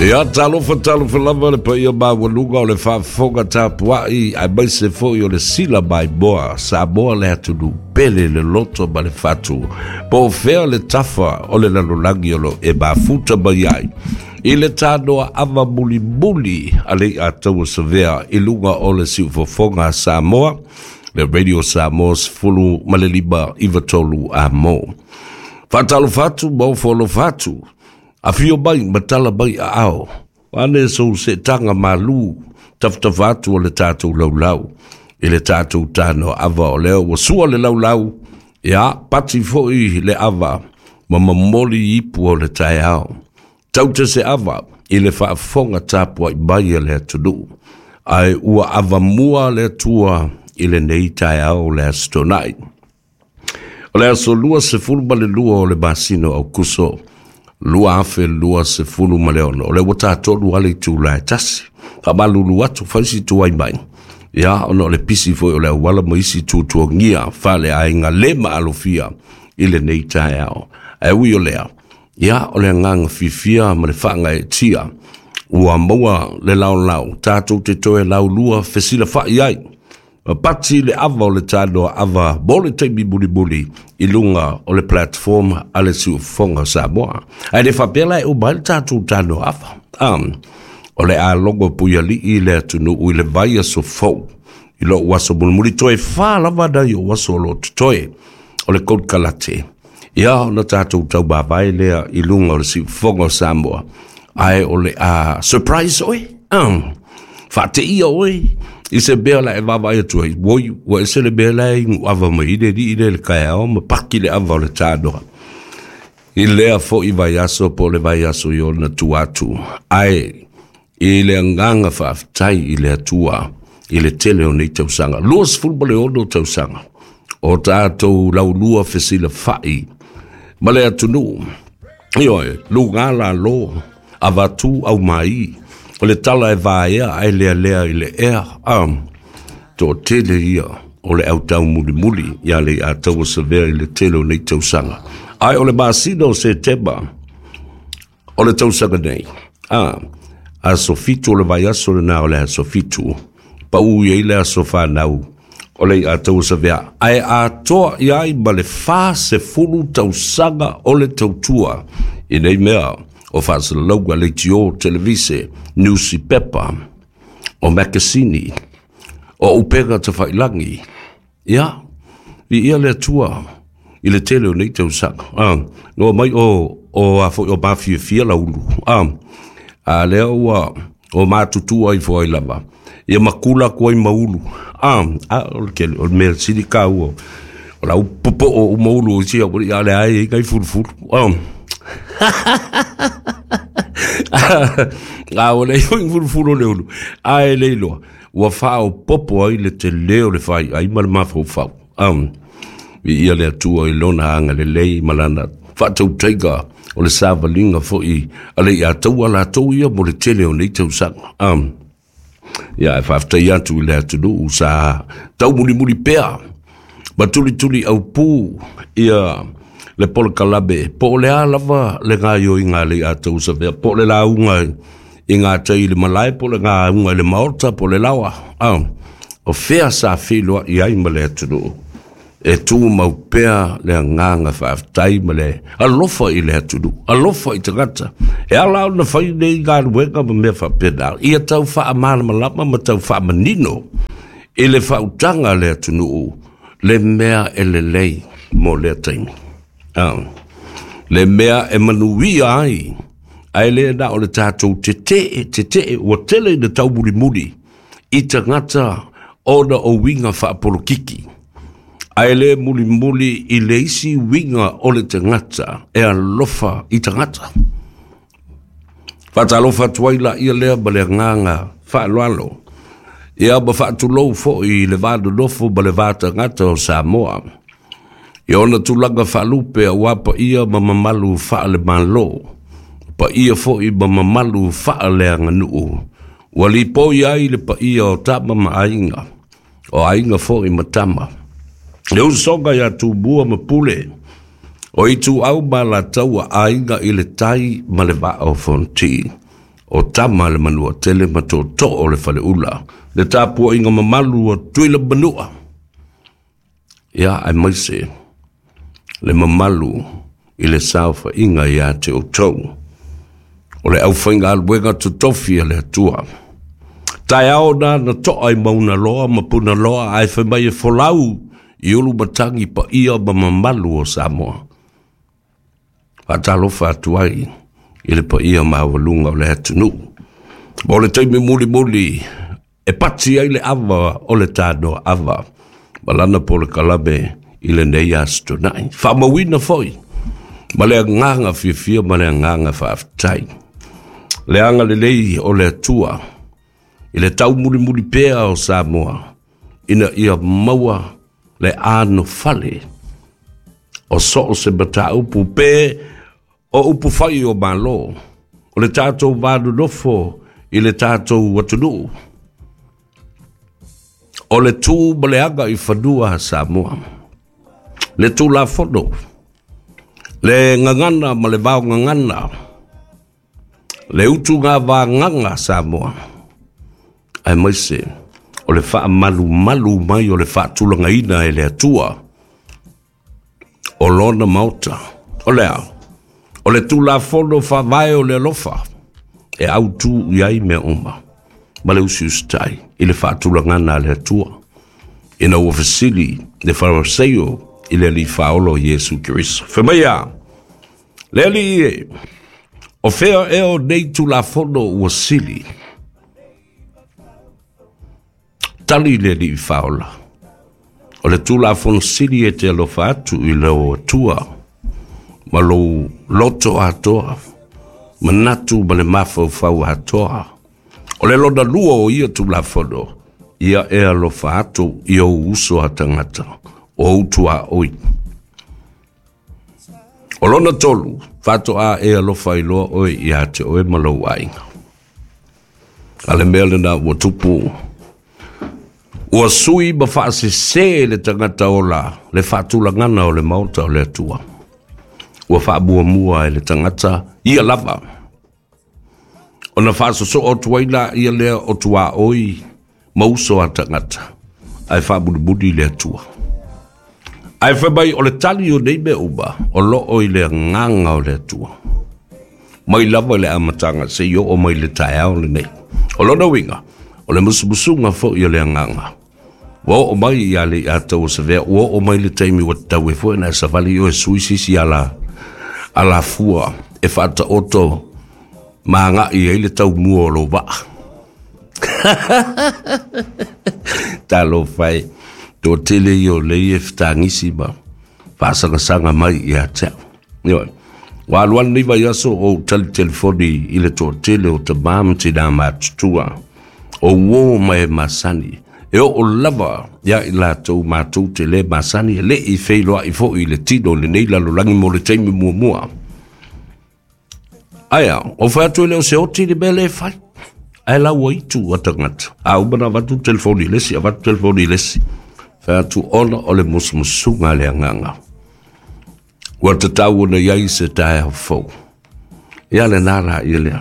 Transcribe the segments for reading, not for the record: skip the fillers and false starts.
Ia, talofa, talofa lava le paia maualuga o le faafofoga tapuai, aemaise foi o le sila maimoa Samoa le atunuu pele le loto ma le fatu. Po o fea le tafa o le lalolagi o lo e mafuta mai ai i le tanoa ava mulimuli a le Iataua Savea i luga o le siufofoga a Samoa, le Radio Samoa 15 93 a mo. Faatalofa atu ma ofo alofa atu, afio mai ma tala mai aao, ane sou seetaga malu tafatafa atu o le tatou laulau i le tatou tanoa ava o lea ua sua le laulau, ia pati foi le ava ma momoli ipu o le taeao. Taute se ava i le faafofoga tapuai mai a le atunuu, ae ua avamua le Atua i lenei taeao o le Aso Toonai. O le aso 22 o le masina o Aokuso 2026, o lea ua tatolu lava le itula e tasi. Faamalulu atu, fai si tuai mai, ia, ona o le pisi foi o le auala ma isi tuatuagia faaleaiga le maalofia i lenei taeao. Ae ui o lea, ia, o le agaga fiafia ma le faagaeetia ua maua le laolao tatou te toe laulua fesilafai ai ma pati le ava o le tanoa ava mo le taimi mulimuli i luga o le platform a le Siufofoga o Samoa. Ae le faapea la e uma ai le tatou tanoa ava. O le a logo puialii le atunuu i le vaiaso fou i lou aso mulimuli, toe 4 lava nai ou aso o lo o totoe o le konekarate. Ia, ona tatou taumavae lea i luga o le Siufofoga o Samoa, ae o le a surprise oe, faateia oe i se mea la e vaavaai atu ai, oi, ua ese le mea la e iguava mai i le alii lea i le taeao ma paki le ava o le tanoa i lea foi vaiaso po o le vaiaso i ona tua atu. Ae i le agaga faafetai i le Atua i le tele o nei tausaga, 26 tausaga o tatou laulua fesilafai ma le atunuu. Ioe, luga lalo, avatu au mai, o le tala e vaea ae lealea i le ea. Toatele ia o le au taumulimuli ia le Iataua Savea i le tele o nei tausaga. Ae o le masina o Setema o le tausaga nei, aso 7 o le vaiaso lena o le aso 7, pau i ai le aso whanau o le Iataua Savea, ae atoa i ai ma le 40 tausaga o le tautua i nei mea o faasalalauga, leitio, televise, newspaper, o makasini, o upega tawhailangi. Ia, viia le Atua i le tele o nei tausaga. No mai o a foi o mafiafia laulu. A lea ua o matutua i foi lava. Ia makula atu ai maulu. A o le tele o le mea sili kāua. O lau popo o maulu o sia o le ai kai fulufulu. A o le fulufulu o le ulu. A e le iloa. Ua faaopopo ai le tele o le fai ai ma le mafaufau. Viia le Atua i lona agalelei ma lana faatautaiga o le savaliga foi a le Iataua latou ia mo le tele o nei tausaga. Ia, e faafetai atu i le atunuu sa taumulimuli pea ma tulituli au pū ia le polokalame, po o le a lava le gaioiga a le Iataua Savea, po o le lauga i ngā tai i le malae, po o le gauga i le maota, po o le laoa. O fea sa feiloai i ai ma le atunuu e tumau pea le agaga faafetai ma le alofa i le atunuu, alofa i tagata. E ala ona fai nei galuega ma mea faapena, ia tau faamalamalama ma tau faamanino i le faautaga a le atunuu le mea e lelei mo lea taimi. Le mea e manuia ai, ae le na o le tatou tetee, ua tele ina taumulimuli i tagata ona o uiga faapolokiki, ae le mulimuli i le isi uiga o le tagata e alofa i tagata. Faatalofa atu ai la ia lea ma le agaga faaaloalo, ia ma faatulou foi i le va nonofo ma le va tagata o Samoa. I ona tulaga faalupe aua paia ma mamalu faalemalo, paia foi ma mamalu faaleaganuu, ua lipoi ai le paia o tama ma aiga, o aiga foi ma tama. Le usoga ia Tumua ma Pule, o Ituau ma Alataua, aiga i le tai ma le vaa o Fonoti. O tama a le Manuatele ma tootoo o le Faleula, le tapuaiga mamalu o Tuila Manua, ia aemaise le mamalu i le saofaiga ia te outou o le aufaigaluega totofi a le Atua. Taeao na na toa i Maunaloa ma Punaloa ae fai mai e folau i ulu matagi paia ma mamalu o Samoa. Faatalofa atu ai i le paia maualuga o le atunuu. Mo le taimi mulimuli e pati ai le ava o le tanoa ava ma lana polokalame i lenei aso Toonai. Faamauina foi ma le agaga fiafia ma le agaga faafetai le agalelei o le Atua i le taumulimuli pea o Samoa ina ia maua le anofale o so o se mataupu pe o upu fai o Malo, o le tatou va nonofo i le tatou atunuu, o le tu ma le aga i fanua a Samoa, le Tulafono, le gagana ma le vaogagana, le utuga vagaga a Samoa, aemaise o le faamalumalu mai o le faatulagaina e le Atua o lona maota. O lea, o le Tulafono Faavae o le alofa e autu i ai mea uma ma le usiusitai i le faatulagana a le Atua ina ua fesili le Fariseio i le Alii Faaola o Iesu Keriso. Fai mai a, le Alii e, o fea ea o nei Tulafono ua sili? Tali le Alii Faaola, o le Tulafono sili e te alofa atu i lou Atua ma lou loto atoa, manatu ma le mafaufau atoa. O le lona lua o ia Tulafono, ia e alofa atu i ou uso a tagata, o ou tuaoi. O lona tolu, faatoa e alofa iloa oe ia te oe ma lou aiga. A le mea lena ua tupu, ua sui ma faasese le tagata ola le faatulagana o le maota o le Atua. Ua faamuamua e le tagata ia lava. Ona faasosoo atu ai la ia lea o tuaoi ma uso a tagata, ae faamulimuli le Atua. Ae fai mai o le tali o nei mea uma o loo i le agaga o le Atua. Mai lava i le amataga seia oo mai le taeao lenei. O lona uiga, o le musumusuga foi o le agaga. Ua oo mai ia le ia tau o Savea, ua oo mai le taimi ua tatau ai foi ona e savali oe sui se isi ala alafua e faataoto ma agai ai le taumua o lou vaa. Talofa e, toatele ia o lea e fetagisi ma faasagasāga mai ia te au. Ioe. Ua alu alu nei vaiaso o ou tali telefoni i le toatele o tamā ma tinā matutua, o uō ma e masani, e oo lava ia i latou matou te le masani e le i feiloai foi i le tino i lenei lalolagi mo le taimi muamua. Ae a, o fai atu e le o se oti le mea lea e fai. Ae la ua itu a tagata. A uma na avatu le telefoni i le isi, avatu telefoni i le isi. Fai atu ona o le musumusuga a le agaga. Ua tatau ona i ai se taeao fou. Ia lena la ia lea.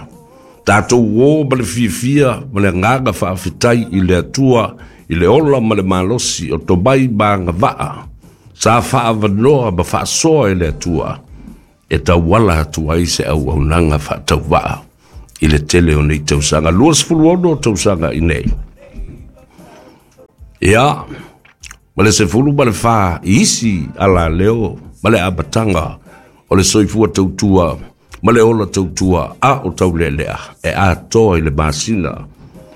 Tatou o ma le fiafia ma le agaga faafetai i le Atua i le ola ma le malosi o tomai ma agavaa sa faaavanoa ma faasoa e le Atua e tauala atu ai se auaunaga faatauvaa i le tele o nei tausaga, 26 tausaga i nei. Ia, ma le 14 i isi alaleo ma le amataga o le soifua tautua ma le ola tautua a o taulealea e atoa i le masina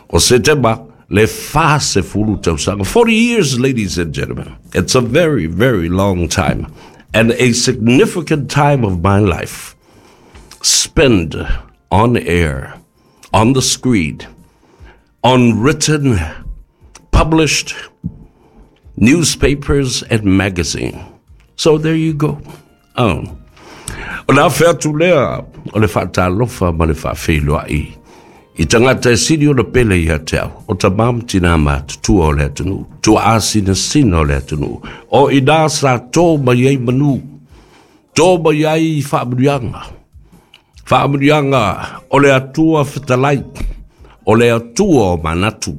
o Setema le 40 tausaga. 40 years, ladies and gentlemen. It's a very, very long time and a significant time of my life spent on air, on the screen, on written, published newspapers and magazine. So there you go. Oh. O le afe atu lea o le faatalofa ma le faafeiloai i tagata e sili ona pele ia te au, o tamā ma tinā matutua o le atunuu, tuaasinasina o le atunuu, o ina sa tō mai ai manu, tō mai ai faamanuiaga, faamanuiaga O le Atua fetalai, o le Atua o manatu,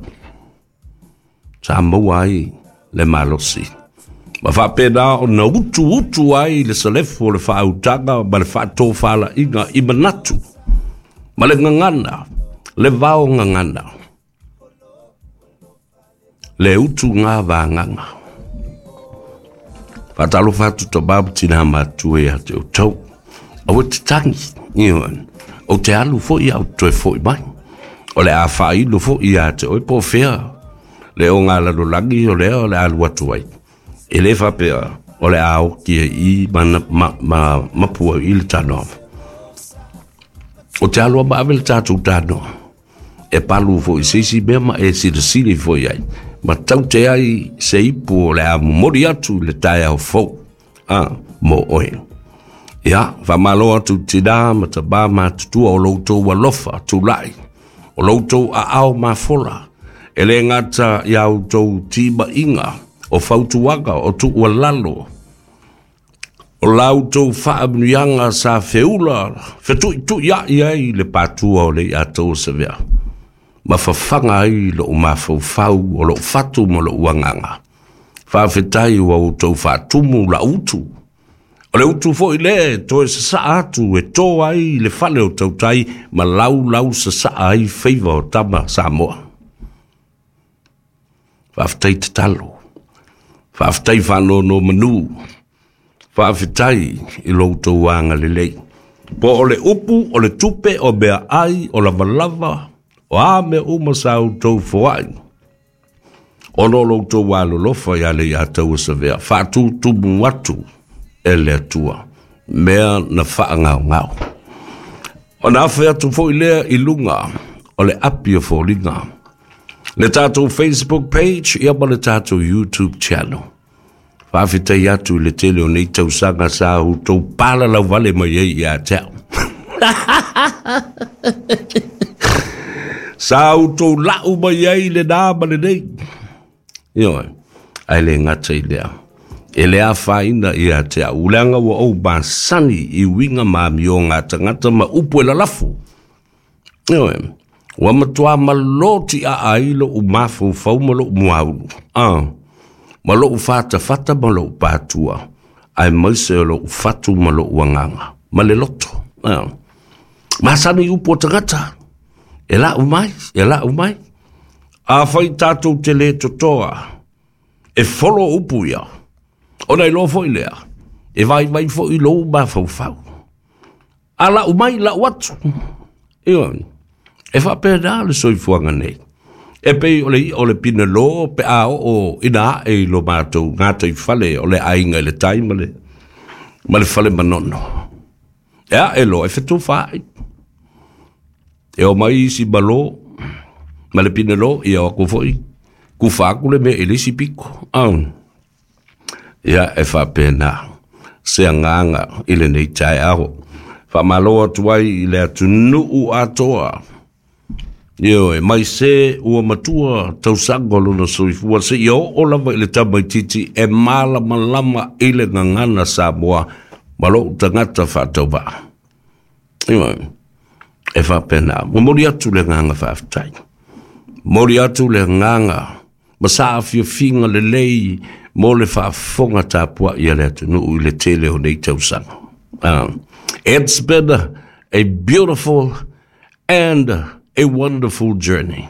sa maua ai le malosi. Ma faapena ona utuutu ai le salefu o le faautaga ma le faatofalaiga i manatu, ma le gagana, le vao gagana, le utuga vagaga. Faatalofa atu tama ma tinā matutua ia te outou. Aua te tagi, ioe. Ou te alu foi au toe foi mai. O le a faailo foi ia te oe po o fea le ogalalolagi o lea o le a alu atu ai. E le faapea o le a oti ai i ma, ma, ma mapu ai i le tanoa. O te aloa ma ave le tatou tanoa. E palu foi i se isi mea ma e silasili foi ai. Ma taute ai se ipu o le a momoli atu i le taeao fou. A, mo oe. Ia, faamalo atu tinā ma tamā matutua o lo outou alofa tulai, o lo outou aao mafola, e le gata i a outou timaiga, o fautuaga, o tuualalo, o la outou faamanuiaga sa feula fetuituiai ai le patua o le i'a tou Savea, ma fafaga ai lou mafaufau o lou fatu ma lou agaga. Faafetai ua outou faatumu lau utu. O le utu foi lea e toe sasaa atu e to ai le fale o tautai ma laulau sasaa ai faiva o tama Samoa. Faafetai tatalo. Faafetai faanonomanu. Faafetai i lo outou agalelei. Po o le upu, o le tupe, o meaai, o lavalava, o a mea uma sa outou foai. Ona o lo outou alolofa ia le ia taua Savea, faatutumu atu e le Atua, mea na faagaogao. Ona afe atu foi lea i luga o le api o foliga. Le tatou Facebook page, ia ma le tatou YouTube channel. Faafetai atu i le tele o nei tausaga sa outou palalauvale mai ai ia te au. Sa outou lau mai ai le nā ma le nei. Ioe, ae le gata i lea. E le afaina ia te au. Leaga ua ou masani i uiga ma amioga a tagata ma upu e lalafo. Ioe, ua matua malotiaa ai lou mafaufau ma lou muaulu. Ah, ma lou fatafata ma lou patua. Aemaise o lou fatu ma lou agaga. Ma le loto. Ah. Masani upu o tagata. E lau mai, e lau mai. Afai tatou te le totoa, e folo upu ia. Ona iloa foi lea, e vaivai foi lou mafaufau. A lau mai, lau atu. Ioe, e faapena le soifuaga nei. E pei o le i'a o le pinelo pe a oo ina ae i lo matou gataifale o le aiga i le tai ma le, ma le fale manono. E ae loa e fetufaai. E o mai isi malo ma le pinelo, ia o atu foi kufa atu le mea i le isi piko. Ah. Ia e faapena se agaga i lenei taeao. Faamalo atu ai i le atunuu atoa. Ioe, mai se ua matua tausaga o lona soifua seia oo lava i le tamaitiiti e malamalama i le gagana Samoa ma lou tagata faatauvaa. Ioe, e faapena. Momoli atu le agaga faafetai. Momoli atu le agaga ma saafiafiga lelei mo le faafofoga tapuai a le atunuu i le tele o nei tausaga. It's been a beautiful and a wonderful journey.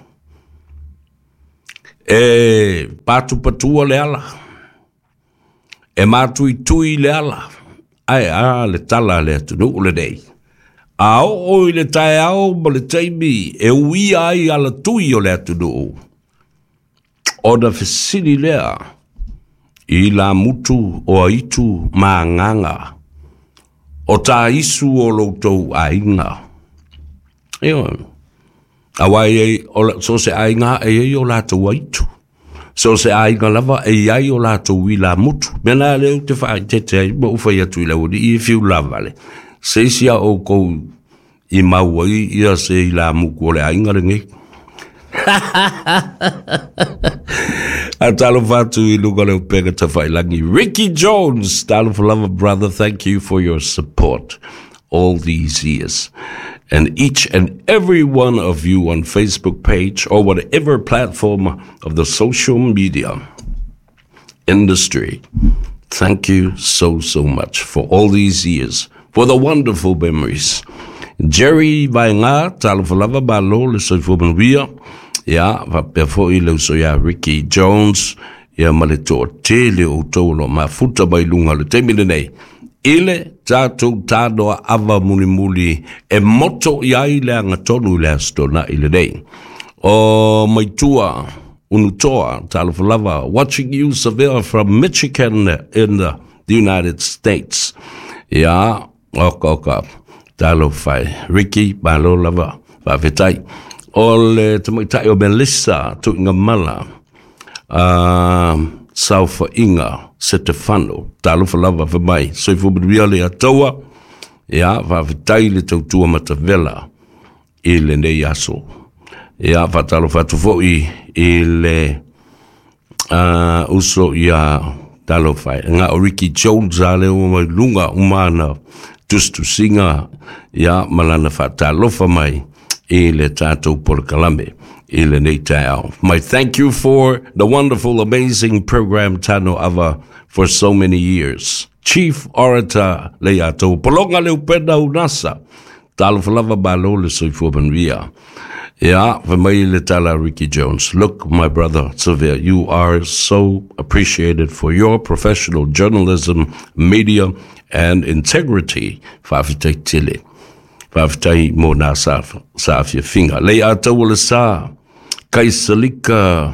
E patupatua le ala, e matuitui le ala, ae a le tala a le atunuu lenei. A oo i le taeao ma le taimi e uia ai alatui o le atunuu, ona fesili lea i lamutu o aitu ma agaga o taisu o loutou aiga. Ioe, aua e ai, o so se aiga e ai o latou aitu. So se aiga lava e iai o latou ilamutu. Mea na lea ou te faaeteete ai ma ou fai atu i le aualii e fiu lavale. Se isi a oukou i mau ai ia se ilamutu o le aiga lenei. A talofa atu i luga o le upega tafailagi. Ricky Jones, talofa lava brother, thank you for your support all these years. And each and every one of you on Facebook page or whatever platform of the social media industry. Thank you so, so much for all these years, for the wonderful memories. Jerry Vaenga, talofa lava, malo le soifua manuia. Ia, faapea foi le uso ia Ricky Jones, ia ma le toatele o outou o lo o mafuta mai luga o le taimi lenei. I le tatou tanoa ava mulimuli e moto i ai le agatonu i le Aso Toonai lenei. O Maitua Unutoa, talofa lava, watching you Savea from Michigan in the United States. Ia, oka oka, talofa e. Ricky, malo lava, faafetai. O le tamaitai o Melissa Tuigamala, Saofaiga Setefano, talofa lava fai mai, soifua manuia le Atua, ia, faafetai le tautua matavela i lenei aso. Ia, faatalofa atu foi i le uso ia talofa e. Nga o Ricky Jones a le ua mai lunga umana tusitusiga ia ma lana faatalofa mai i le tatou polokalame i lenei taeao. My thank you for the wonderful, amazing program Tano Ava for so many years. Chief Orator Leiatou Pologa Leupena Unasa. Talofa lava malo le soifua manuia. Ia, fai mai le tala Ricky Jones. Look, my brother Savea, you are so appreciated for your professional journalism, media and integrity. Faafetai tele. Faafetai mo nā saafiafiga. Leiataua le sa, Kaisalika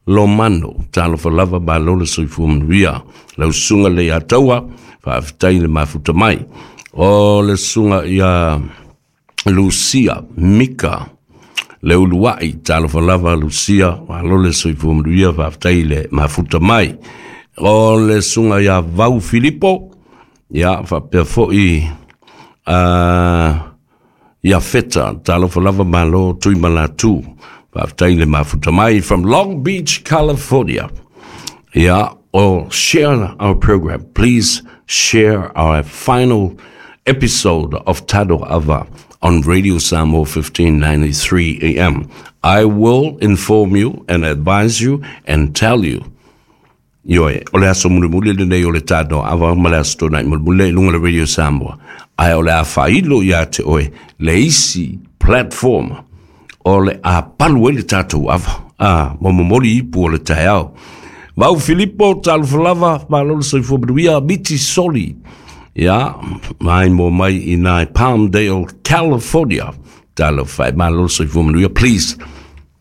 Lomano, talofa lava malo le soifua manuia. Lau susuga Leiataua, faafetai le mafuta mai. O le susuga ia Lucia Mika Leuluai, talofa lava Lucia, malo le soifua manuia, faafetai le mafuta mai. O le susuga ia Vau Filipo, ia faapea foi ia Feta, talofa lava malo Tuimalatu, faafetai le mafuta mai from Long Beach, California. Ia, or share our program. Please share our final episode of Tado Ava on Radio Samoa 1593 AM. I will inform you and advise you and tell you. Ioe, o le aso mulimuli lenei o le Tado Ava ma le Aso Toonai mulimuli i luga o le Radio Samoa. Ae o le a faailo ia te oe le isi platform o le a palu ai le tatou ava. A, ma momoli ipu o le taeao. Vau Filipo, talofa lava, malo le soifua manuia, miti soli. Ia, mai mo mai i nai Palmdale, California. Talofa e, malo le soifua manuia. Please,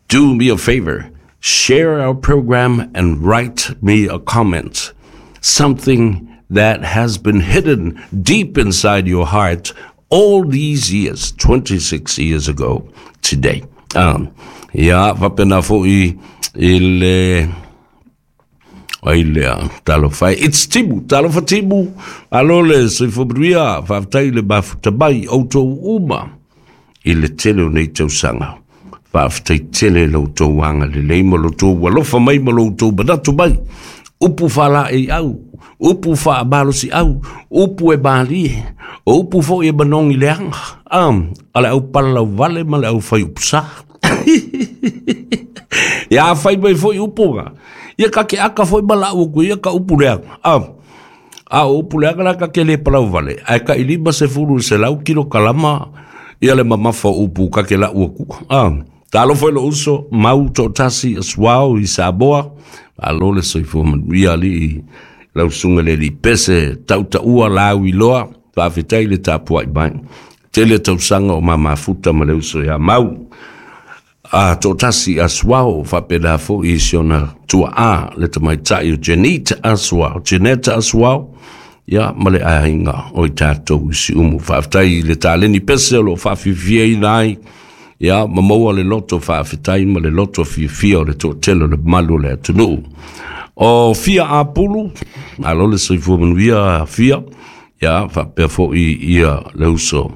do me a favor. Share our program and write me a comment. Something that has been hidden deep inside your heart all these years, 26 years ago today. Ia, faapena foi i le ai lea, talofa e. It's Timu, talofa Timu, alo le soifua manuia, faafetai le mafuta mai, outou uma i le tele o nei tausaga. Faafetai tele lo outou agalelei ma lo outou alofa mai ma lo outou manatu mai. Upu faalaeiau, upu faamalosiau, upu e malie, o upu foi e manogi leaga, a le au palalauvale ma le au fai upu sa. Ia fai mai foi upu nga. Ia ka ke aka foi ma lau aku ia ka upu leaga. A o upu leaga la ka ke le palauvale, ae ka i 50 kilo kalama ia le mamafa o upu ka ke lau aku. Talofa i lou uso, mau toatasi asuao i Samoa, malo le soifua manuia alii lau susuga i le alii Pese Tautaua Lauiloa, faafetai le tapuai mai. Tele tausaga o ma mafuta ma le uso ia Mau. A toatasi Asuao, faapena foi i si ona tuaa le tamaitai o Janita Asuao, Janeta Asuao, ia ma le aiga o i tatou i Siumu. Faafetai i le taleni pese o lo o faafiafiaina ai, ia ma maua le loto faafetai ma le loto fiafia o le toatele o le mamalu o le atunuu. O Fia Apulu, malo le soifua manuia Fia, ia faapea foi ia le uso.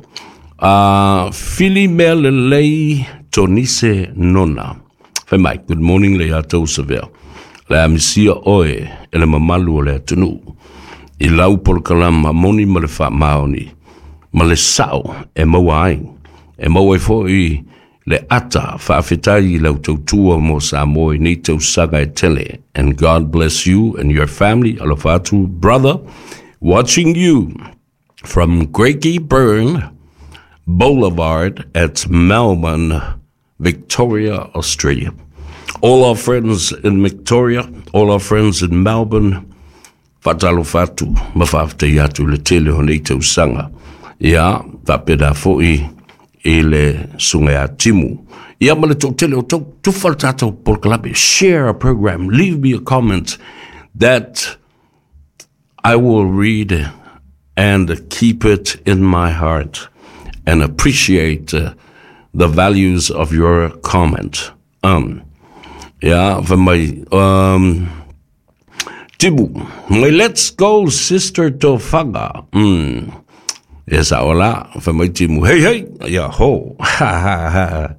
A Fili mea lelei Tonise Nona. Fai mai, good morning le ia tou Savea. Le a misia oe e le mamalu o le atunuu. I lau polokalama moni ma le faamaoni, ma le sao e maua ai. E maua ai fo'i le ata faafetai i lau tautua mo Samoa i nei tausaga e tele. And God bless you and your family. Alofa atu, brother, watching you from Craigieburn Boulevard at Melbourne, Victoria, Australia. All our friends in Victoria, all our friends in Melbourne, faatalofa atu ma faafetai atu i le tele o nei tausaga. Ia, faapena fo'i i le susuga ia Timu. Ia ma le toatele o tou, tufa le tatou polokalame, share a program, leave me a comment that I will read and keep it in my heart and appreciate the values of your comment. Um, ia, fai mai, um, Timu, mai let's go sister Tofaga. Mm. Ia sa ola, fai mai Timu, hey hey, ia ho. Ha ha ha.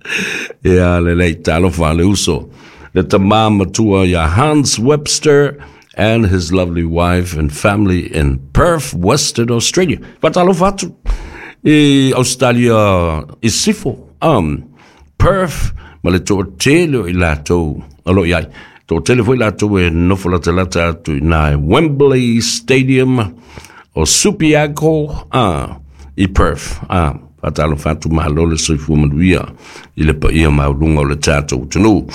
Ia lelei talofa le uso. Le tamā matua ia Hans Webster and his lovely wife and family in Perth, Western Australia. Faatalofa atu i Australia i Sifo. Um, Perth ma le toatele o i latou o lo o i ai. Toatele foi latou e nofo latalata atu i nā Wembley Stadium o Subiaco ah, i Perth. Ah, faatalofa atu malo le soifua manuia i le paia maualuga o le tatou atunuu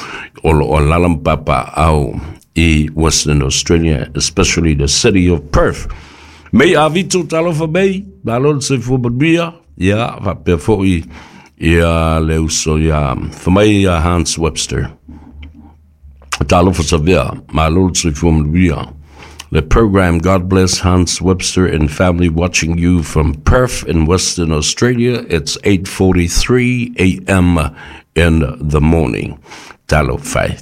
o lo o alaala ma papaaao i Western Australia, especially the city of Perth. Mei Avito talofa mei, malo le soifua manuia, ia faapea foi ia le uso ia fai mai ia Hans Webster. Talofa Savea, malo le soifua manuia. The program God Bless Hans Webster and family watching you from Perth in Western Australia. It's 8:43 a.m. in the morning. Talofa e.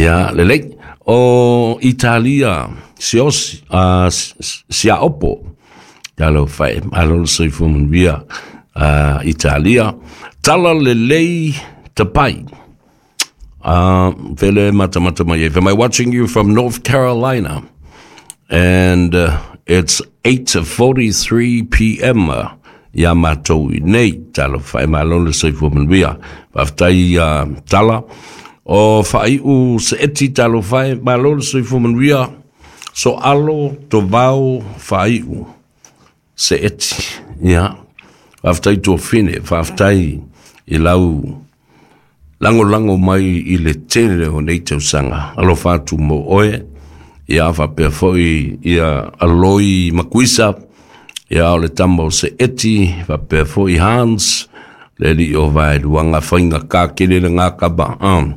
Ia, lelei. O Italia, Siosi, uh, Siaopo. Talofa e. Malo le soifua manuia. Uh, Italia. Tala lelei tapai. Uh, vele matamata mai e. Am I watching you from North Carolina? And uh, it's 8.43 p.m. Ia matou i nei. Talofa e malo le soifua manuia. Faafetai uh, tala. O faaiu se eti talofa e malo le soifua manuia. So alo to vao faaiu se eti. Ia. Faafetai tuafine, faafetai i lau lagolago mai i le tele o nei tausaga. Alofa atu mo oe, ia faapea foi ia Aloi Makuisa, ia o le tama o se eti, faapea foi Hans, le alii o Vaeluaga faiga ka kele le ngakama, um,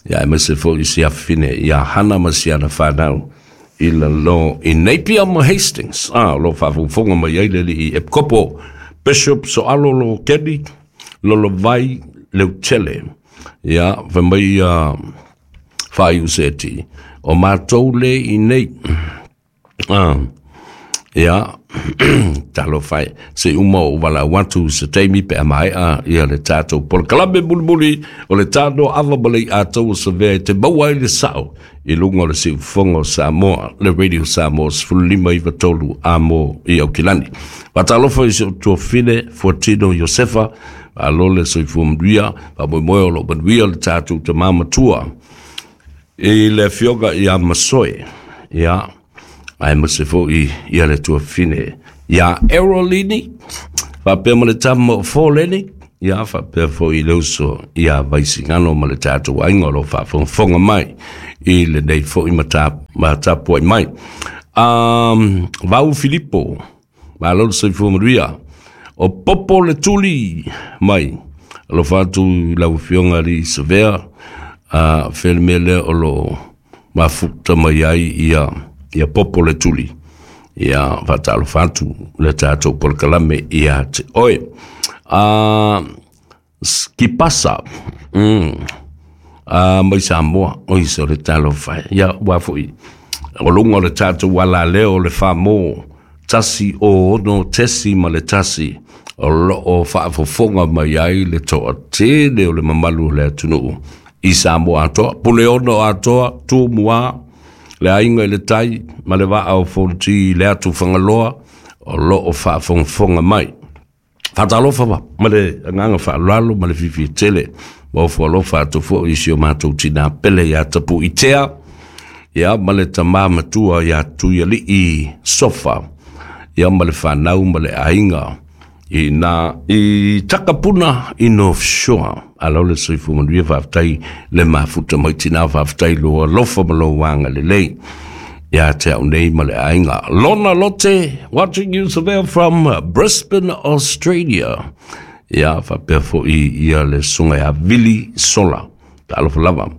ia aemaise foi si afafine ia Hana ma si ana whanau i lalo i Napier ma Hastings. Ah, o lo faafogafoga mai ai le alii Epikopo Bishop Soalo lo Keni, Lolovai Leutele. Ia, fai mai ia whaiu seti. O mātou le i nei. Ah, ia, talofa e, se uma o valaau atu se taimi pe a maea ia le tatou polokalame mulimuli o le tano ava ma le iatau o Savea e te maua ai le sao i luga o le siufofoga o Samoa, le Radio Samoa 15 93 amo i Aukilani. Faatalofa i si ou tuafine Fuatino Iosefa, malo le soifua manuia, faamoemoe o lo o manuia le tatou tama matua i le afioga ia Masoe, ia, aemaise foi ia le tuafine ia Erolini, faapea ma le tama o Fōleni, ia faapea foi i le uso ia Vaisigano ma le tatou aiga o lo o faafogafoga mai i lenei foi matapuai mai. Um, Vau Filipo, malo le soifua manuia. O Popo le Tuli mai, alofa atu i lau afioga alii Savea, uh, fea le mea lea o lo o mafuta mai ai ia, ia Popo le Tuli. Ia faatalofa atu le tatou polokalame ia te oe. Uh, Skipasa, mm, uh, mai Samoa, oi se o le talofa e. Ia, ua foi, o luga o le tatou alaleo o le whamō, tasi o ono tesi ma le tasi, o loo faafofoga mai ai le toatele o le mamalu o le atunuu i Samoa atoa, Puleono atoa, Tumua, le aiga i le tai ma le vaa o Fonoti i le atu Fagaloa, o loo faafogafoga mai. Faatalofa ma le agaga faaaloalo ma le fiafia tele ma ofo alofa atu foi i si o matou tinā pele ia Tapuitea, ia ma le tamā matua ia Tuialii Sofa, ia ma le fanau ma le aiga i na i Takapuna i North Shore. Alo le soifua manuia, faafetai le mafuta mai tinā, faafetai lou alofa ma lou agalelei ia te au nei ma le aiga. Lona Lote, watching you Savea from Brisbane, Australia. Ia, faapea foi ia le susuga ia Vili Sola. Talofa lava.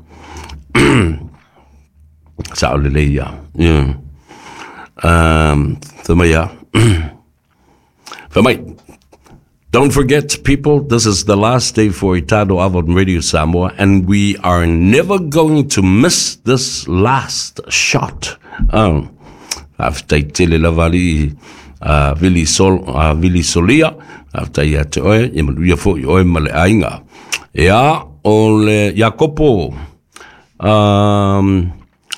Sao lelei ia. Yeah. Fai mai ia. Fai mai. Don't forget, people, this is the last day for Itano Ava on Radio Samoa, and we are never going to miss this last shot. Faafetai tele lava alii Vili, Sol, Vili Solia, faafetai ia te oe, ia manuia foi oe ma le aiga. Ia, o le Iakopo,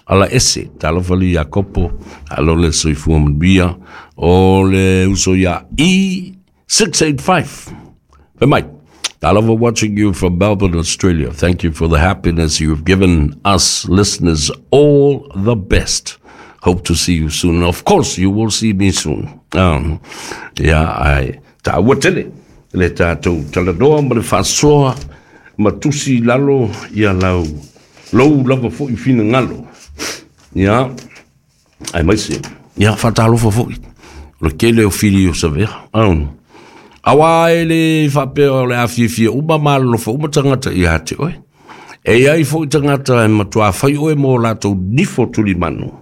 ala ese, talofa li Iakopo, alo le soifua manuia, o le uso ia E685. Fai mai, I love watching you from Melbourne, Australia. Thank you for the happiness you've given us listeners. All the best. Hope to see you soon. Of course, you will see me soon. Yeah, I taua tele le tatou talanoa ma le faasoa ma tusi i lalo ia lau lou lava foi finagalo. Ia, aemaise ia faatalofa foi o le tele o fili o Savea. Auā e le faapea o le a fiafia uma ma alolofa uma tagata ia te oe. E i ai foi tagata e matuā fai oe mo latou nifo tulimanu,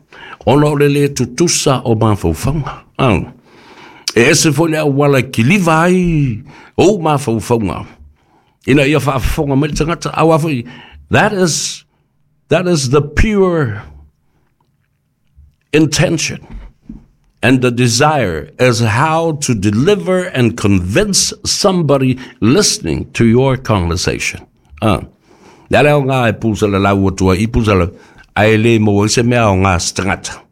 ona o le lē tutusa o mafaufauga. E ese foi le auala e kiliva ai ou mafaufauga ina ia faafofoga mai le tagata. Auā foi, that is the pure intention and the desire is how to deliver and convince somebody listening to your conversation. Le ala o ngā e pūsala lau atua i pūsala, ae le maua ai se mea o ngā se tagata.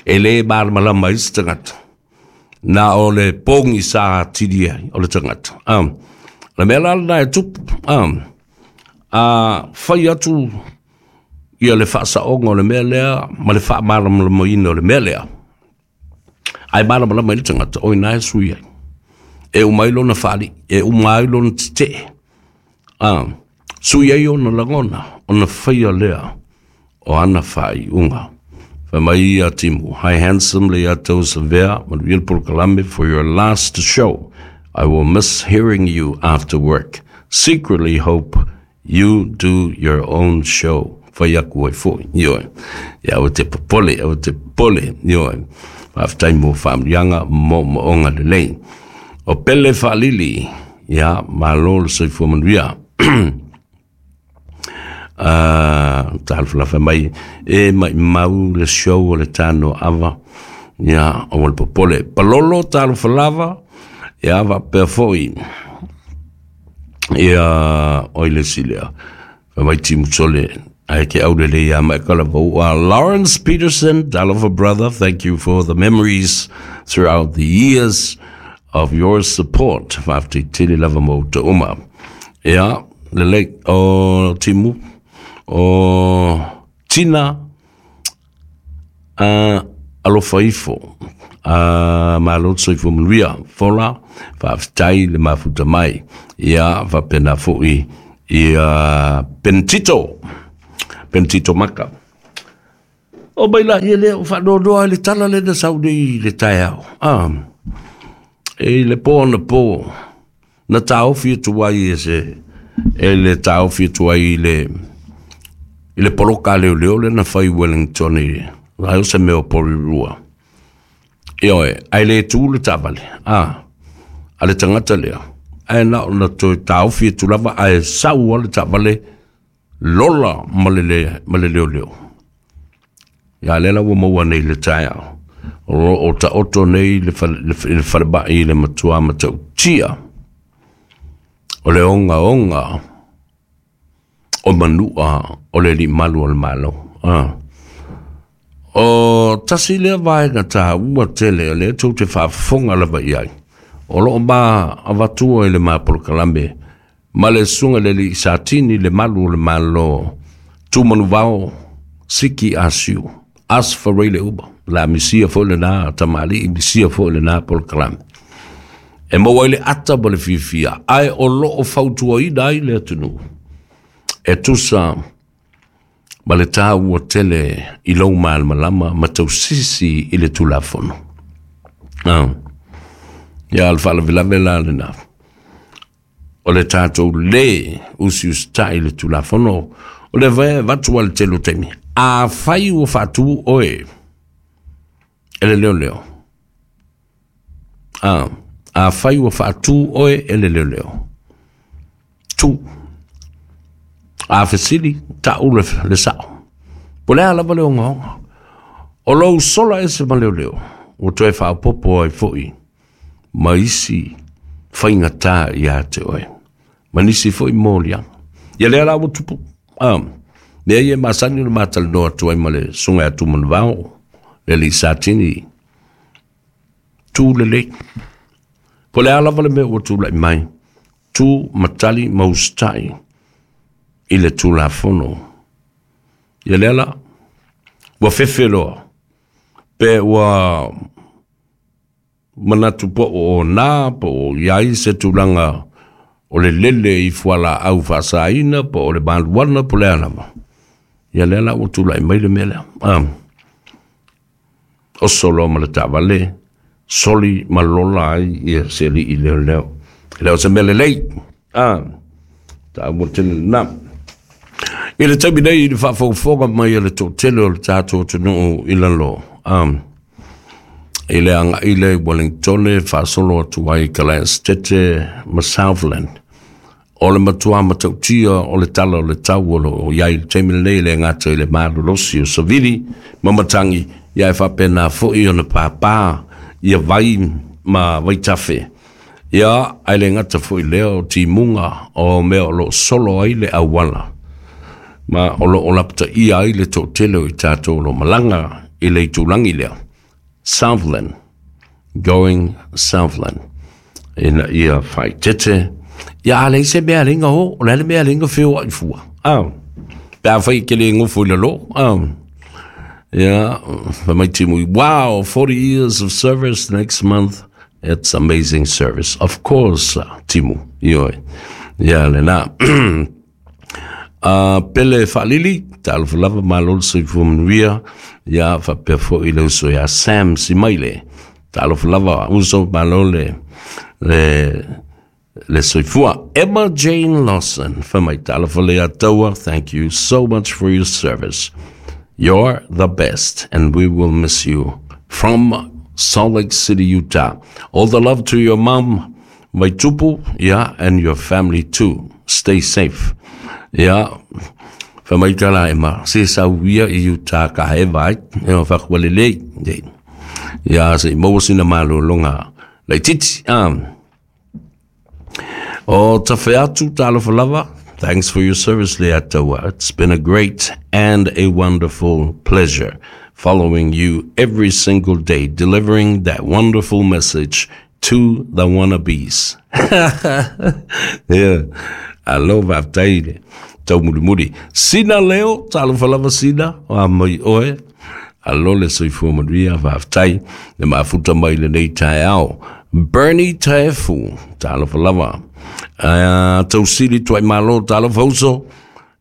E le malamalama ai se tagata. Na o le pogi sa atili ai o le tagata. Le mea la lena e tupu. A fai atu ia le faasaoga o le mea lea ma le faamalamalamaina o le mea lea. Ae malamalama ai le tagata, o ina e sui ai. E uma ai lona faalii, e uma ai lona tetee. Sui ai ona lagona, ona faia lea o ana faaiuga. Fai mai ia Timu, hi handsome Leiataua Savea, manuia le polokalame for your last show. I will miss hearing you after work. Secretly hope you do your own show. Fai aku ai foi, ioe. Ia aua te popole, aua te popole, ioe. Faafetai mo faamanuiaga mo moonga lelei. O Pele Faalili, ia, malo le soifua manuia. Talofa mai e maimau le show o le tano ava, ia, aua le popole. Palolo talofa lava, ia, faapea foi ia oi le silea. Fai mai Timu Sole, ae ke aulelei ia mai kala vau. Lawrence Peterson, talofa brother, thank you for the memories throughout the years of your support. Faafetai tele lava mo te uma. Ia, lelei, o Timu, o Tina, alofa ifo, malo le soifua manuia, fola, faafetai le mafuta mai. Ia, faapena foi ia Pentito, Pentito Maka. O mai la ia lea o faanoanoa ai le tala lea na sau nei i le taeao. E i le po ona po, na taofi atu ai e se, e le taofi atu ai i le poloka a leoleo lea na fai i Wellington i, ai o se mea o Porirua. Ioe, ae le tu le taavale, a le tagata lea, ae na ona toe taofi atu lava ae sau a le taavale lola ma le, ma le leoleo. Ia lea la ua maua nei le taeao. O lo o taoto nei le, le, le falemai le matua matautia o le ogaoga o manua o le limalu o le malo. O tasi lea vaega taua tele o lea tou te faafofoga lava i ai. O loo ma avatua i le ma polokalame ma le susuga i le alii Satini le malu o le Malo Tumanuvao Siki Asiu Asfarei le uba la misia foi lena tamalii misia foi lena polokalame e maua ai le ata ma le fiafia ae o loo fautuaina ai le atunuu e tusa ma le taua tele i lou malamalama ma tausisi i le Tulafono. Ah. Ia, le faalavelave la lena. O le tatou lē usiusitai i le Tulafono, o le vae avatu a le tele o taimi. Afai ua faatu oe e le leoleo. Ah, afai ua faatu oe e le leoleo. Tu. A fesili, ta'u le, le sa'o. Po le a lava le ogaoga. O lou sola ese ma leoleo, ua toe faaopoopo ai foi ma isi faigatā ia te oe. Ma nisi foi moliaga. Ia lea la ua tupu. Ah, mea ia e masani ona matalanoa atu ai ma le susuga ia Tumanuvao, le alii Satini, tu lelei. Po le a lava le mea ua tulai mai, tu ma tali ma usitai i le Tulafono. Ia lea la, ua fefe loa, pe ua manatu po o nā, po o i ai se tulaga o le lele i fualaau faasaina, po o le maluana, po o le a lava. Ia lea la ua tulai mai le mea lea. Ah. Oso loa ma le taavale, soli ma lola ai ia se alii leoleo. E le o se mea lelei. Ah. Taua tele lena. I le taimi nei i le faafogafoga mai a le toatele o le tatou atunuu i lalo. Ah. I le agai lea i Wellingtone faasolo atu ai i Kalaesetete ma Southland. O le matua matautia o le tala o le tau o lo o i ai i le taimi lenei e le gata i le malolosi o savili ma matagi, ia e faapena foi ona pāpā ia vai ma vaitafe. Ia, ae le gata foi i lea o timuga o mea o lo o solo ai le auala ma o lo o lapataia ai le toatele o i tatou o lo o malaga i le itulagi lea. Southland, going Southland. Ina ia faaeteete, ia a leai se mea e ala ai ona o, o le a le mea e ala ai ona feoai fua. Ah, pe afai e te le nofo i lalo, ah, ia, fai mai Timu, wow, 40 years of service next month, it's amazing service. Of course, Timu, ioe, ia lena. A Pele Faalili, talofa lava, malo le soifua manuia, ia faapea foi le uso ia Sam Simaile. Talofa lava, uso, malo le, le, le soifua. Emma Jane Lawson, fai mai, talofa le Ataua, thank you so much for your service. You're the best and we will miss you. From Salt Lake City, Utah. All the love to your mom, Vaitupu, yeah, and your family too. Stay safe. Yeah. Fai mai ka la Emma, se sau ia i Utah ka haeva ai, e o whakuale lei. Ia, se i maua sina malōlōga laitiiti. Ah. O tawhe atu, talofa lava. Thanks for your service, Leiataua. It's been a great and a wonderful pleasure following you every single day, delivering that wonderful message to the wannabes. yeah. Alo, faafetai le taumulimuli. Sina Leo, talofa lava Sina, a mai oe. Alo le soifua manuia, faafetai le mafuta mai lenei taeao. Bernie Taefu, talofa lava. Uh, tausili tuai malo, talofa uso.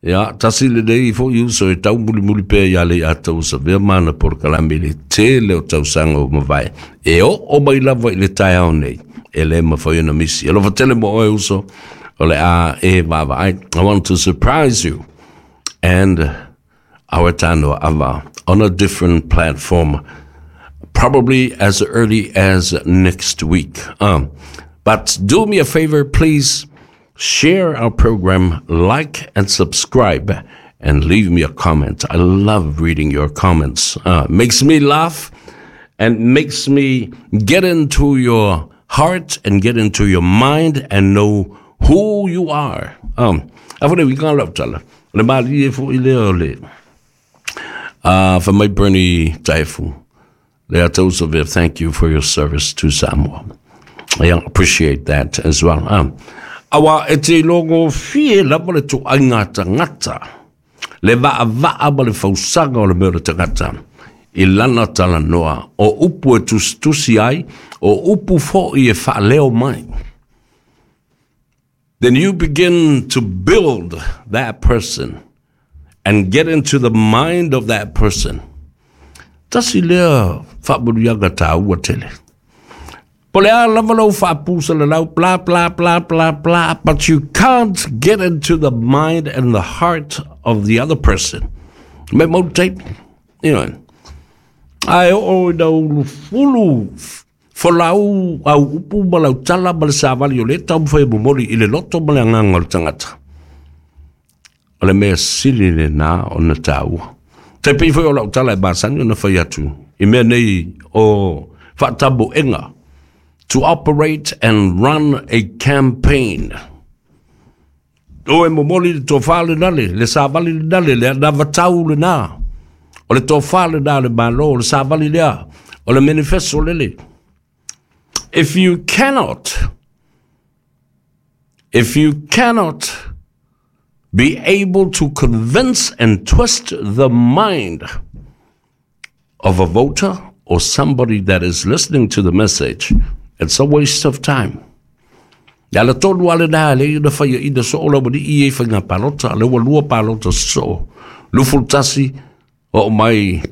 Ia, tasi lenei foi uso e taumulimuli pea ia Leiataua Savea ma ana polokalame i le tele o tausaga ua mavae. E oo mai lava i le taeao nei, e le mafai ona misi. Alofa tele mo oe uso, o le a e vaavaai. I want to surprise you and our Tanoa Ava on a different platform, probably as early as next week. But do me a favor, please share our program, like and subscribe, and leave me a comment. I love reading your comments. Makes me laugh and makes me get into your heart and get into your mind and know who you are. A fo le uiga lau tala. O le malie foi lea o le fai mai Bernie Taefu, Leiataua Savea, thank you for your service to Samoa. Yeah, appreciate that as well. Aua e te ilogofie lava le tuaiga tagata, le vaavaa ma le fausaga o le mea o le tagata i lana talanoa, o upu e tusitusi ai, o upu fo'i e faaleo mai. Then you begin to build that person and get into the mind of that person. Tasi lea faamanuiaga taua tele. Po le a lava lou faapusalalau, blah, blah, blah, blah, blah, but you can't get into the mind and the heart of the other person. Me mau tape, you know. Ae oo ina ulufulu folau au upu ma lau tala ma le savali o le taumafai e momoli i le loto ma le agaga o le tagata. O le mea sili lena ona taua. Tai pei foi o lau tala e masani ona fai atu i mea nei o faatamoega to operate and run a campaign. O e momoli le tofa lena le savali lena le anavatau lena. O le tofa lena le Malo, o le savali lea, o le manifesto lele. If you cannot be able to convince and twist the mind of a voter or somebody that is listening to the message, it's a waste of time. Ia la tonu ale nā le ina whaia ina so o lawa ni i e whainga palota, le ua lua palota so. 21 o mai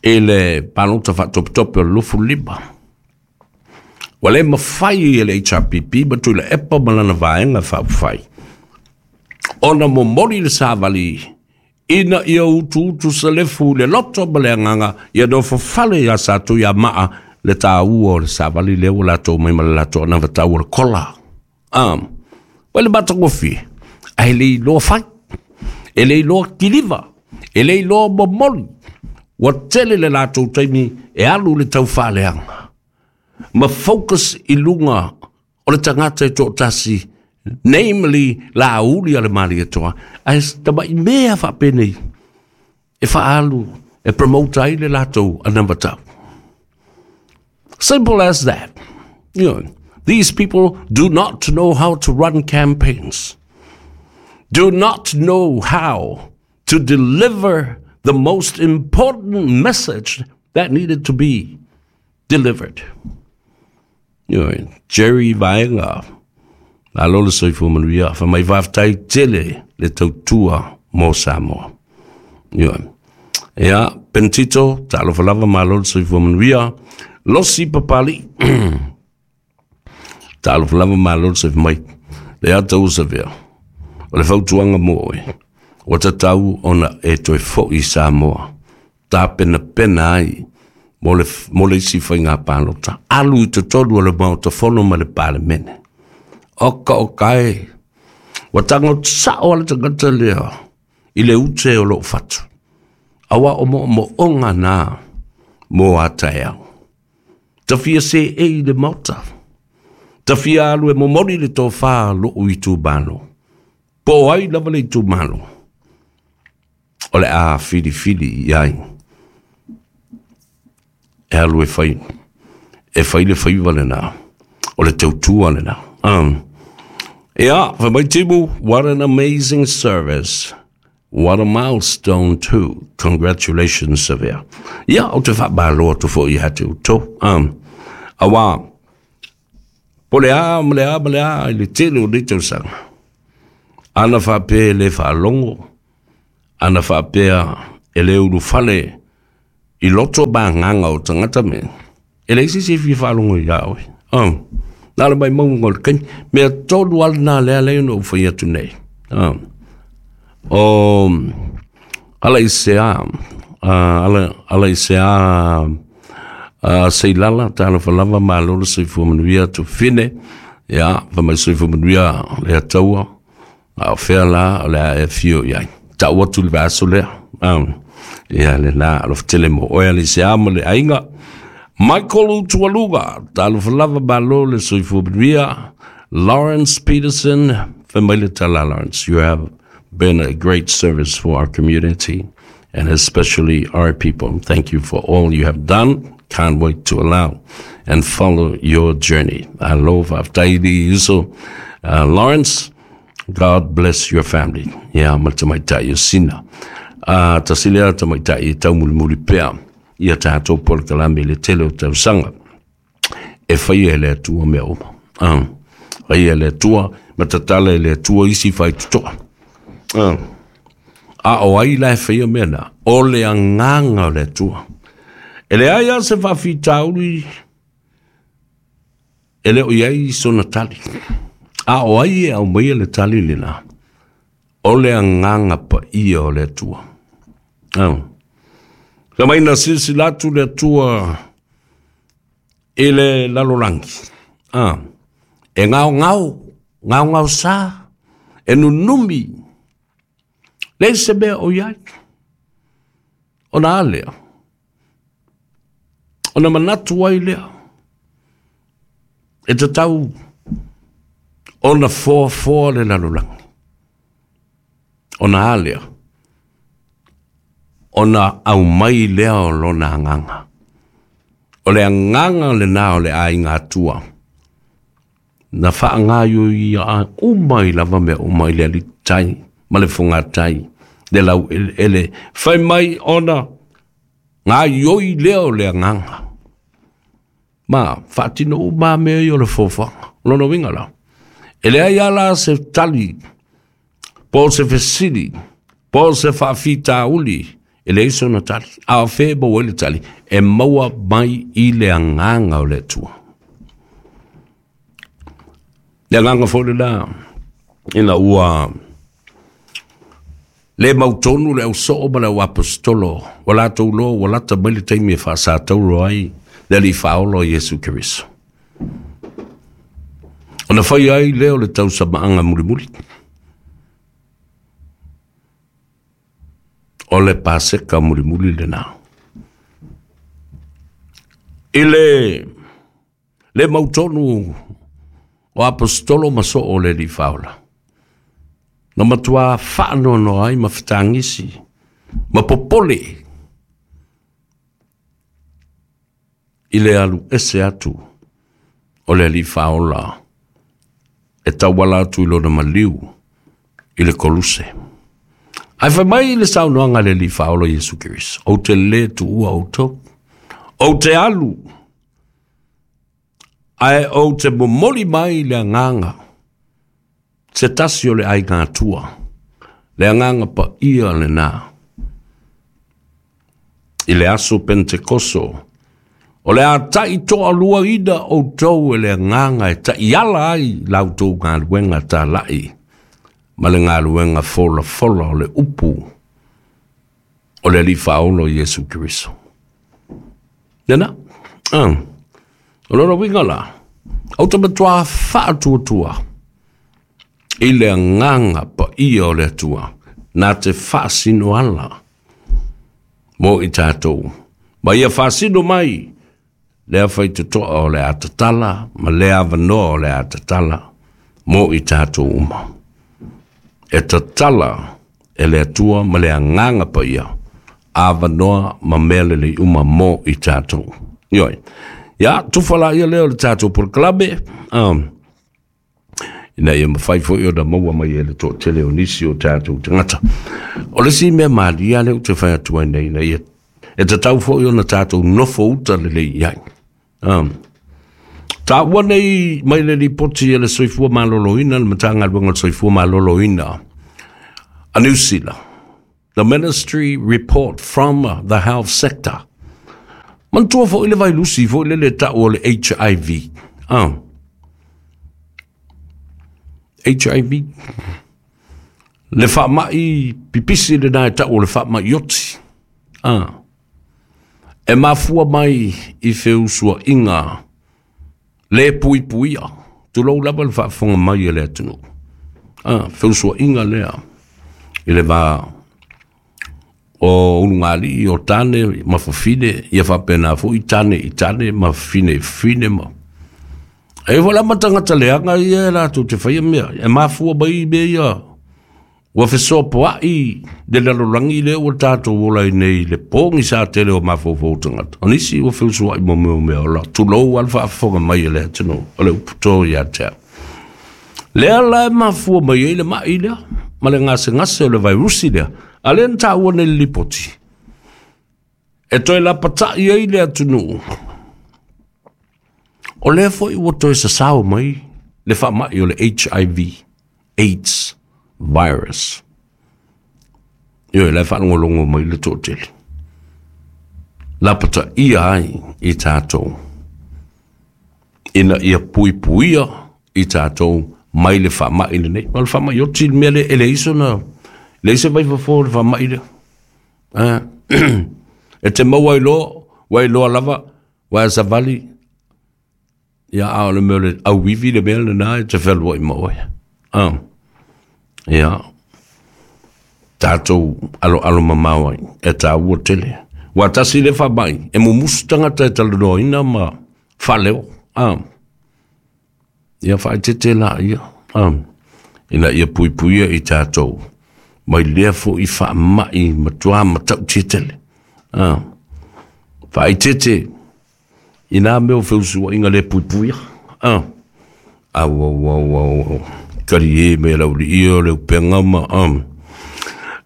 e le palota whaatopetope o le 25. Ua le mafai e le HRPP ma Tuilaepa ma lana vaega faaupufai ona momoli le savali ina ia utuutu selefu le loto ma le agaga ia nofofale iā Satuiamaa le taua o le savali lea ua latou mai ma le latou anavatau o le kola. Ua le matagofie, ae le iloa fai, e le iloa kiliva, e le iloa momoli. Ua tele le latou taimi e alu le taufaaleaga ma focus i luga o le tagata e toatasi, namely Laauli a le Malietoa, ae tama'i mea faapenei e faaalu e promote ai le latou anavatau. Simple as that. These people do not know how to run campaigns, do not know how to deliver the most important message that needed to be delivered. Jerry Vaenga, malo le soifua manuia, fa mai faafetai tele le tautua mo Samoa. Ia, Pentito, talofa lava, malo le soifua manuia. Losi Papali, talofa lava, malo le soifua mai. Le ata usavea, o le fautuaga mo oe, ua tatau ona e toe fo'i Samoa, tapenapena ai mo le isi faiga palota. Alu i totonu o le Maota Fono ma le Palemene. Oka oka e, ua tago sa'o a le tagata lea i le ute o lo'u fatu. Auā o mo'omo'oga na mo a taeao. Tafia se e i le Maota. Tafia alu e momoli le tofā lo'u itumalo. Po o ai lava le itumalo. O le a filifili i ai. E alu e fai. E fai le faiva lena. O le tautua lena. Yeah, for my Timu, what an amazing service. What a milestone too. Congratulations, Savea. Ia, o te faamalo atu fo'i ia te outou. Auā, po le a ma le a ma le a i le tele o nei tausaga. Ana faapea e le faalogo, ana faapea e le ulufale i loto ma agaga o tagata me, e leai se isi e fia faalogo iā oe. Na le maumauga o le taimi. Mea tonu lava lena lea lea na ou fai atu nei. O ala i se a, ala i se a Seilala, talofa lava, malo le soifua manuia, tufine, ia, fa mai soifua manuia le ataua, a o fea la o le a e fio i ai. Ta'u atu le vaaso lea. Ia le la, alofa tele mo oe ala i se a ma le aiga. Michael Utualuga, talofa lava, malo le soifua manuia. Lawrence Peterson, fa mai le tala Lawrence, you have been a great service for our community and especially our people. Thank you for all you have done. Can't wait to allow. and follow your journey. Alo faafetai i uso Lawrence. God bless your family. Ia ma le tamaitai o Sina. Tasi lea tamaitai e taumulimuli pea ia tatou polokalame i le tele o tausaga. E faia e le Atua mea uma. Faia e le Atua ma tatala e le Atua isi faitotoa. A o ai la e faia mea na? O le agaga o le Atua. E leai lava se faafitauli e le o i ai sona tali. A o ai e aumaia le tali lena? O le agaga paia o le Atua. Sa mai na silasila atu le Atua i le lalolagi. E gaogao, gaogao sa, e nunumi, leai se mea o i ai. Ona a lea? Ona manatu ai lea, e tatau ona foafoa le lalolagi. Ona a lea? Ona aumai lea o lona agaga. O le agaga lena o le aiga Atua. Na faagaioia uma ai lava mea uma i le alitai ma le fogatai, le laueleele, fai mai ona gaioi lea o le agaga. Ma faatino uma mea ia o le foafoaga. O lona uiga la, e leai lava la se tali, po o se fesili, po o se faafitauli, e leai sona tali. A o fea e maua ai le tali? E maua mai i le agaga o le Atua. Le agaga foi lena, ina ua le mautonu le ausoo ma le auaposetolo, ua latou loa ua lata mai le taimi e faasatauro ai le Alii Faaola o Iesu Keriso. Ona faia ai lea o le tausamaaga mulimuli, o le Paseka mulimuli lena. I le le mautonu o aposetolo ma soo o le Alii Faaola, na matua faanoanoa ai ma fetagisi ma popole i le alu ese atu o le Alii Faaola e tauala atu i lona maliu i le koluse. Ae fai mai le saunoaga a le Alii Faaola Iesu Keriso, ou te le tuua outou, ou te alu, ae ou te momoli mai le agaga, se tasi o le aiga Atua, le agaga paia lena. I le aso Pentekoso, o le a taitoaluaina outou e le agaga e taiala ai la outou galuega talai ma le galuega folafola o le upu o le Alii Faaola o Iesu Keriso. Lena, o lona uiga la, ou te matua faatuatua i le agaga paia o le Atua, na te faasino ala mo i tatou. Ma ia faasino mai lea faitotoa o le a tatala ma lea avanoa o le a tatala mo i tatou uma. E tatala e le Atua ma le agaga paia, avanoa ma mea lelei uma mo i tatou. Ioe. Ia, tufa la ia lea o le tatou polokalame, ina ia mafai foi ona maua mai e le toatele o nisi o tatou tagata. O le isi mea malie lea ou te fai atu ai nei, ina ia e tatau foi ona tatou nofo uta lelei i ai. Taua nei mai le lipoti e le Soifua Maloloina, le Matagaluega o le Soifua Maloloina a Niu Sila. The Ministry Report from the Health Sector. Manatua foi le vailusi foi lele tau o le HIV. HIV. Le faamai pipisi lena e tau o le faamai oti. E mafua mai i feusuaiga le puipuia. Tulou lava le faafofoga mai e le atunuu. Feusuaiga lea i le va o ulugalii o tane ma fafine, ia faapena foi tane i tane ma fafine i fafine ma. E foi la ma tagata leaga ia e latou te faia mea, e mafua mai mea ia. Ua fesoapoa'i le lalolagi lea ua tatou ola ai nei i le pogisa tele o mafaufau o tagata. O nisi ua feusua'i ma mea o meaola, tulou lava le faafofoga mai a le atunuu, o le upu to ia te au. Lea la e mafua mai ai le ma'i lea ma le gasegase o le vairusi lea, a lea na taua nei i le lipoti, e toe lapata'i ai le atunuu. O lea foi ua toe sasao mai le faama'i o le HIV, AIDS virus. Ioe, la e faalogologo mai le toatele. Lapataia ai i tatou ina ia puipuia i tatou mai le faamai lenei. O le faamai oti le mea lea e leai sona, leai se vaifofo o le faamai lea. E te maua ai loa, ua iloa lava, ua e savali, ia a o le mea o le auivi le mea lena e te fealuai ma oe. Ia, tatou aloalo mamao ai, e taua tele. Ua tasi le faamai, e mumusu tagata e talanoaina ma faaleo. Ia faaeteete laia, ina ia puipuia i tatou mai lea foi faamai matua matautia tele. Faaeteete i nā mea o feusuaiga le puipuia. Au, au, au, au, au. Kalie me lau li o le upega ma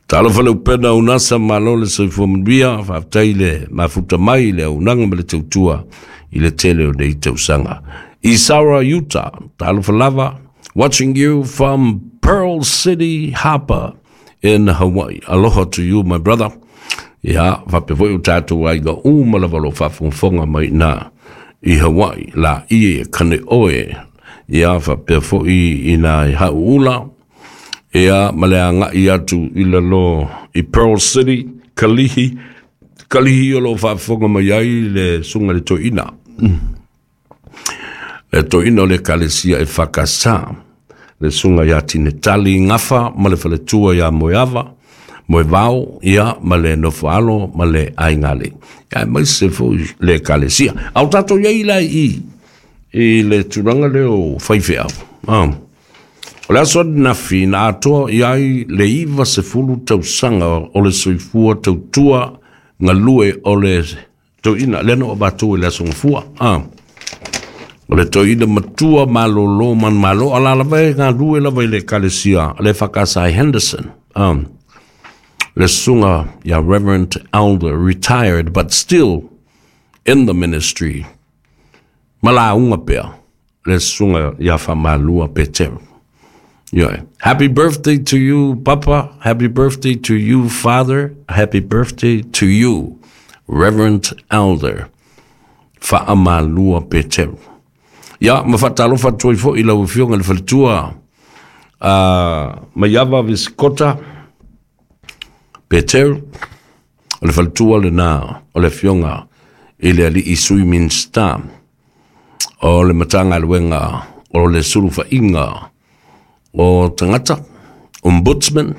Talofa le upena unasa malo le soifua manuia, faafetai le mafuta mai le auaunaga ma le tautua i le tele o nei tausaga. Isara Utah, talofa lava, watching you from Pearl City Harbor in Hawaii. Aloha to you, my brother. Ia, faapea foi o tatou aiga uma lava o lo o faafogafoga mai i ina i Hawaii, la ie kane oe. Ia, faapea foi ina i Hauula, ia, ma le agai atu i lalo i Pearl City, Kalihi, Kalihi o lo o faafofoga mai ai le susuga i le toeaina. Le toeaina o le Ekalesia e Fakasa, le susuga ia Tinetali Gafa ma le faletua ia Moeava, Moevao, ia, ma le nofoalo ma le aiga. Ia, aemaise foi le Ekalesia. A o tatou i ai la i i le tulaga lea o faifeau. O le aso ananafi na atoa i ai le 90 tausaga o le soifua tautua galue o le toeaina lea na ou avatua i le aso Gafua. O le toeaina matua malolo manumalo, a la lava e galue lava i le Ekalesia le EFKS Henderson. Le susuga ia Reverend Elder, retired but still in the ministry. Ma lauga pea le susuga ia Faamalua Peteru. Yeah. Happy birthday to you, Papa. Happy birthday to you, Father. Happy birthday to you, Reverend Elder Faamalua Peteru. Ia, ma faatalofa atu ai foi i lau Afioga i le faletua Maiava Visikota Peteru, o le faletua lena o le Afioga i le Alii Sui Minisita o le Matagaluega o le Sulufaiga o Tagata, Ombudsman,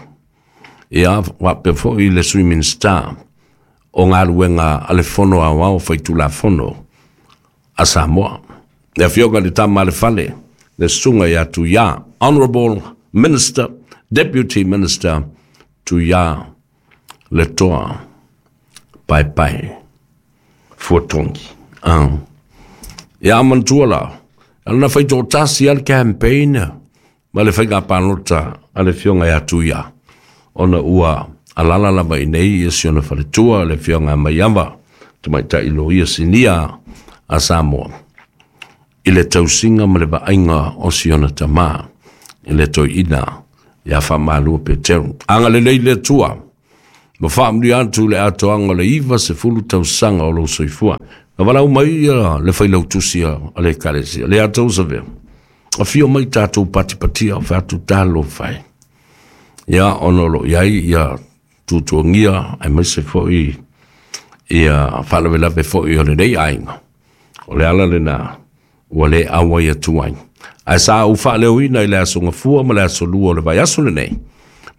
ia, faapea foi le Sui Minisita o Galuega a le Fono Aoao Faitulafono a Samoa. Le Afioga i le Tama a le Fale, le Susuga ia Tuia, Honorable Minister, Deputy Minister Tuia Letoa Paepae Fuatongi. Ia manatua la, na faitoatasi lava le campaign ma le faiga palota a le Afioga ia Tuia, ona ua alala lava i nei ia si ona faletua le Afioga Maiava, tamaitai loia sinia a Samoa, i le tausiga ma le vaaiga o si ona tamā i le toeaina ia Faamalua Peteru. Agalelei le Atua ma faamanuia atu le atoaga o le 90 tausaga o lou soifua. Na valaau mai ia le failautusi a le Ekalesia, le atou savea, afio mai tatou patipatia o fai atu talofa e. Ia, ona o lo o i ai ia tuatuagia aemaise foi ia faalavelave foi o lenei aiga. O le ala lena ua le auai atu ai. Ae sa ou faaleoina i le aso Gafua ma le aso Lua o le vaiaso lenei,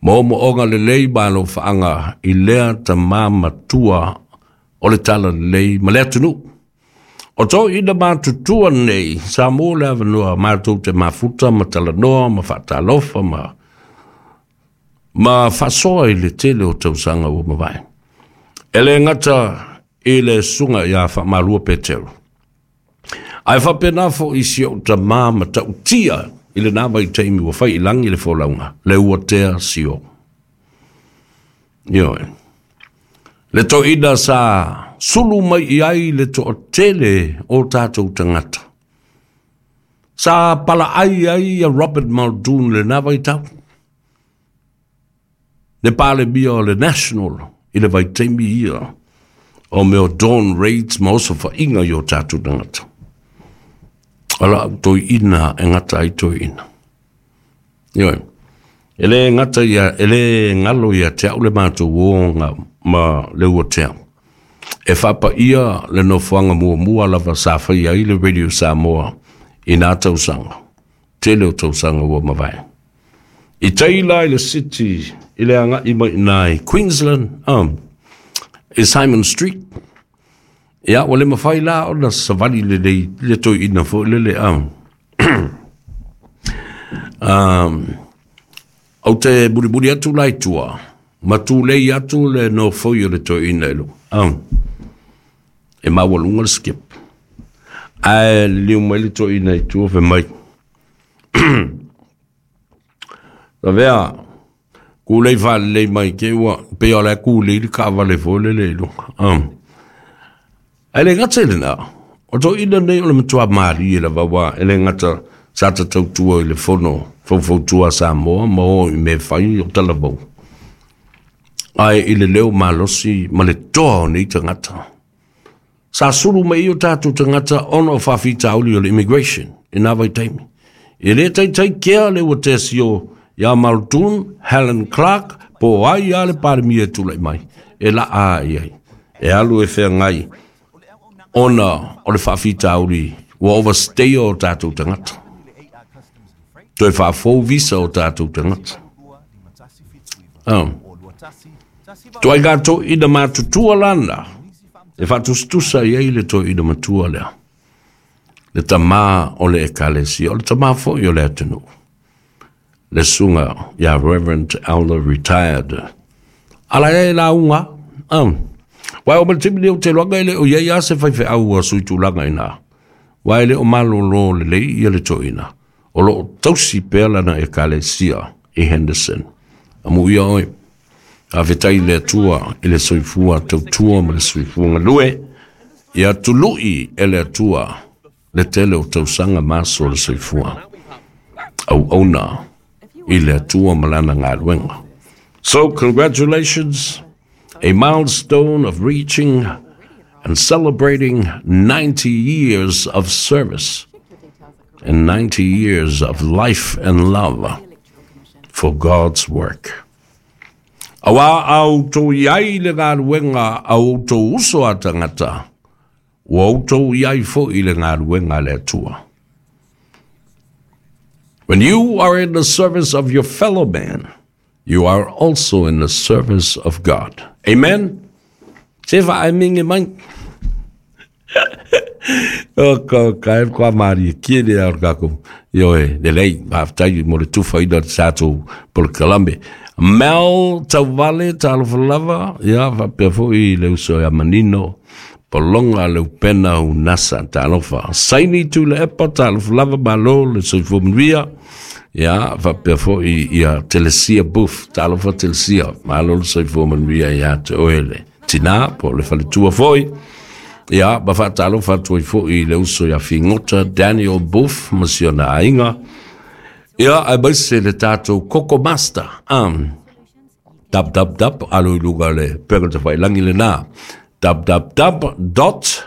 moomooga lelei ma alofaaga i lea tamā matua o le talalelei ma le atunuu. O toeaiina matutua nei, sa maua le avanoa matou te mafuta ma talanoa ma faatalofa ma Ma faasoa i le tele o tausaga ua mavae. E le gata i le susuga ia Faamalua Petero, ae faapena foi i si ou tamā matautia i lena vaitaimi ua fai i lagi le folauga, le Uatea Sio. Ioe. Le toeaina sa sulu mai i ai le toatele o tatou tagata. Sa palaai ai ia Robert Muldoon i lena vaitau, le Palemia o le National i le vaitaimi ia o mea o dawn raids ma osofaiga i o tatou tagata. O lau toeaina e gata ai toeaina. Ioe. E le gata ia, e le galo ia te au le matou oga ma le Uatea. E faapaia le nofoaga muamua lava sa faia ai le Radio Samoa i nā tausaga, tele o tausaga ua mavae. I tai la i le city i le agai mai i nā i Queensland, i Simon Street, ia ua le mafai la ona savali lelei le toeaina foi lele, Ou te mulimuli atu la i tua, ma tulei atu le nofoi o le toeaina i luga. E maualuga le skip. Ae liliu mai le toeaina i tua fai mai. Lavea, kulei faalelei mai ke ua pei o le kulei le kaavale foi lele i luga. Ae le gata i lena, o toeaina nei o le matua malie lava aua e le gata sa ta tautua i le fono faufautua a Samoa ma o i mea fai o talavou, ae i le leo malosi ma le toa o nei tagata. Sa sulu mai i o tatou tagata ona o faafitauli o le immigration i nā vaitaimi. E le taitai kea le ua tesio iā Muldoon, Helen Clark, po o ai lava le Palemia e tulai mai, e laa i ai. E alu e feagai ona o le faafitauli ua overstay o tatou tagata. Toe faafou visa o tatou tagata. Oh. Tuaiga toeaina matutua lana e faatusatusa i ai le toeaina matua lea. Le tamā o le ekalesia, o le tamā foi o le atunuu. Le susuga ia Reverend Elder Retired. Ala e lauga. Wai o ma le taimi nei o te iloaga e le o i ai lava se faifeau ua suitulaga i ina. Aua e le o malolo lelei ia le toeaina. O lo o tausi pea lana ekalesia i Henderson. Amuia oe. Faafetai i le Atua i le soifua tautua ma le soifua galue. Ia tului e le Atua le tele o tausaga ma aso o le soifua. Auauna i le Atua ma lana galuega. So congratulations, a milestone of reaching and celebrating 90 years of service and 90 years of life and love for God's work. Auā a outou i ai le galuega a outou uso a tagata, ua outou i ai foi i le galuega a le Atua. When you are in the service of your fellow man, you are also in the service of God. Amen? Se whaemenge mai. O ka ka e kwa mari ki le au ka ko. Ioe, lelei, faafetai mo le tufaina o le tatou polokalame. Mel Tauvale, talofa lava, ia faapea foi le uso ia Manino, Polonga Leupena Unasa, talofa. Saini Tuilaepa, talofa lava, malo le soifua manuia. Ia faapea foi ia Telesia Booth, talofa Telesia, malo le soifua manuia ia te oe le tinā po o le faletua foi. Ia, ma faatalofa atu ai foi i le uso ia Figota Daniel Booth ma si ona aiga. Ia, aemaise le tatou Koko Master, www, alo i luga o le pega tafailangi lena, www dot.